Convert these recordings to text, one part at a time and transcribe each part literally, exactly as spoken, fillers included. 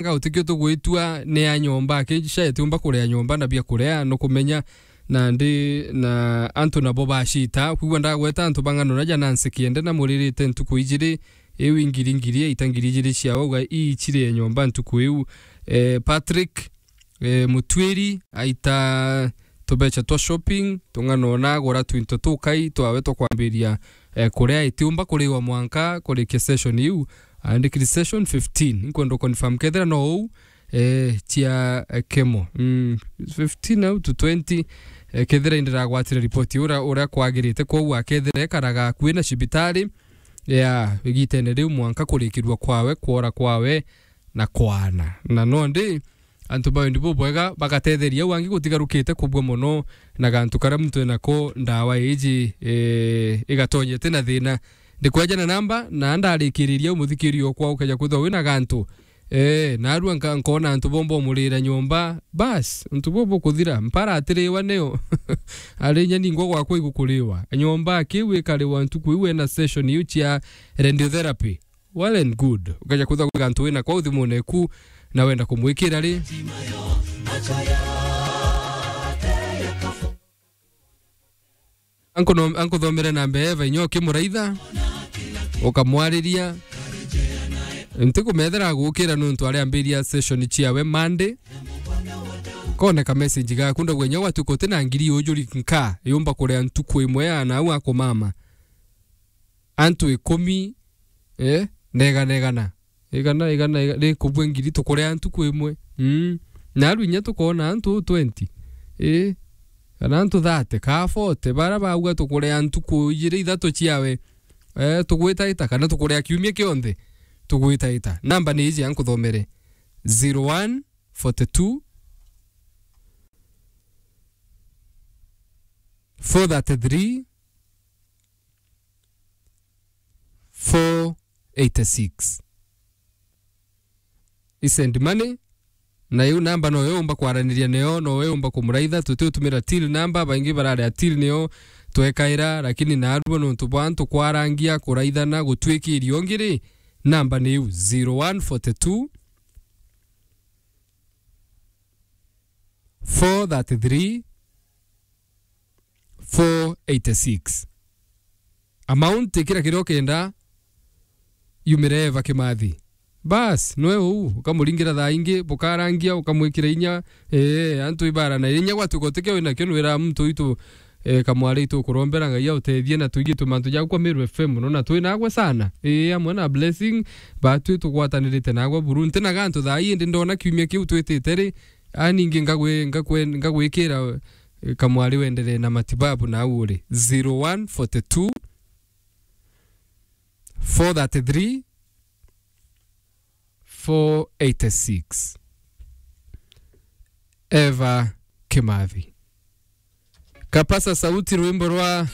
Muranga utikio tugwitua ni ya nyomba, akija itiumba kuria nyomba na bia kuria, nukumenya nandi na antu nabo bacita. Kwigua ndagweta antu ba ng'ano na ja Nancy Kiende na muririte ntuku ijiri, iu ingiri ngiri, aita ngiri ijiri ciao, uga ii cirie nyomba ntuku iu. Eh, Patrick, eh, Mutwiri, aita tubecha twa shopping, tung'ana ona agura twinto tukai twawe twa kwambiria, eh, kuria itiumba kuriwa mwanka kurikia session iu, andikiri session fifteen. Inkwenda confirm kethira no uu, eh, cia, eh, kemo. Mm, fifteen au to twenty, eh, kethira indiragwatire ripoti uria, uria kwagirite, kwou akethira ekaraga akui na cibitari, ya, igitene riu mwanka kurikirua kwawe, kwora kwawe, na kwana. Na nondi, antu ba wendi bubwega bagatetheria au angi gutigarukite kubua mono na gantu karia muntu enako ndawa iji, eh, igatonyete na thina. Ndikwejana namba, na ndarikiriria umuthikirio okwa ukeja kwithwa wina gantu. Eh, narua nka-, nkona antu bomba umurira nyomba. Bas, antu bo bukuthira. Mpara atiriwa nio. Ari inya ningwa gwakwa igukuriwa. Nyomba akiu ikariwa ntuku iu ena session iu cia radiotherapy. Well and good. Ukaja kwithwa gwika antu wina kwau thimune eku na wenda kumwikira ri. Ankuno-, ankuthomere namba ya Eva inya ukimuraitha, ukamwariria. Ntikumethera agukira nuntu ariambiria session ciawe Monday. Kone ka message gaku ndagwe inya gwatuka uti na ngiri ujuri nka yumba kuria ntuku imwe ya nau akumama. Antu ikumi, eh, na igana igana. Igana, igana, igana, rikubua ngiri tukuria ntuku imwe. Mm. Naru inya tukona antu twenty. Eh. Kana antu thirty, ka forty, bara bauga tukuria ntuku ijiri ithatu ciawe. Eh, tugwitaita, kana tukuria kiumia kionthe. Tugwitaita. Namba ni iji ankuthomere. Zero one forty two, four thirty three, four eighty six. I send money, na iu namba no yo umba kwaraniria nayo, no yo umba kumuraitha, tutiutumira till namba, baingi bararia till niyo twekaira, lakini narua nontu bwa antu kwarangia, kuraithana, gutwikiria ungi ri, namba ni iu zero one forty two, four thirty three, four eighty six. Amount ikira kiria ukenda yumire Eva Kimathi. Bas, nwe uu, ukamuringira thaa ingi, bukarangia, ukamwikira inya, ee, antu ibara na inya gwatuka utikio winakio nwira muntu witu, eh, kamwari itu kurombera Ngai autethie na tuigi tumantu jaku kwa Meru F M, nona twi nagwe sana. Ii, amwe na Blessing, batwi tugwatanirite nagwe buru. Nti na gantu thaa ii, indi ndona kiumia kiu twitite ri, a ningi ngagwi-, ngakwe-, ngagwikira, eh, kamwari wenderee na matibabu na au uri. Zero one forty two, four thirty three, four eighty six. Eva Kimathi. Kapasa sauti, rwimbo rwa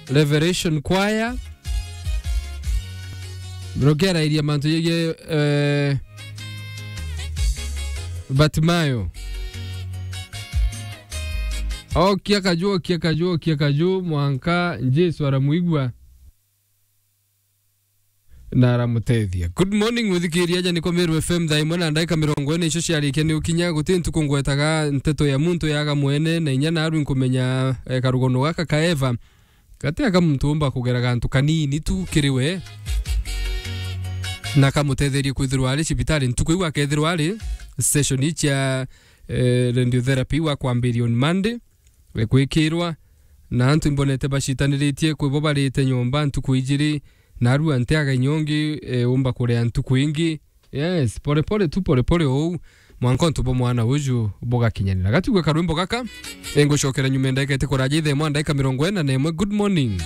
Revelation Choir. Rukiarairia mantu jegie, eh, Batimayo. Okia kaju, okia kaju, okia kaju, mwanka Jesu aramuigua na aramutethia. Good morning, muthikiria, aja niko Meru F M, thaa imwe na ndagika mirongo ina icio ciarikia ni ukinya, guti ntuku ngwetaga nteto ya muntu yaga mwene, na inya narwi nkumenya, eh, karugono gaka ka Eva, gati aka muntu umba kugera gantu kanini tu kiri we, na kamutetherie kwithirwa ari cibitari ntuku iu akethirwa ari session ii cia, eh, radiotherapy wa kwambiria on Monday. Gwikirwa, na antu imbonete bacitaniritie kwi bo barite nyomba ntuku ijiri, narua ntiaga inya ungi, eh, umba kuria ntuku ingi. Yes, pole pole tu, pole pole ou, mwanka untu bwa mwana uju bugakinyanira. Gatigwe karwimbo gaka, ingucokera nyuma ndagika iti kuraja ithe mwa ndagika mirongo ina na imwe. Good morning.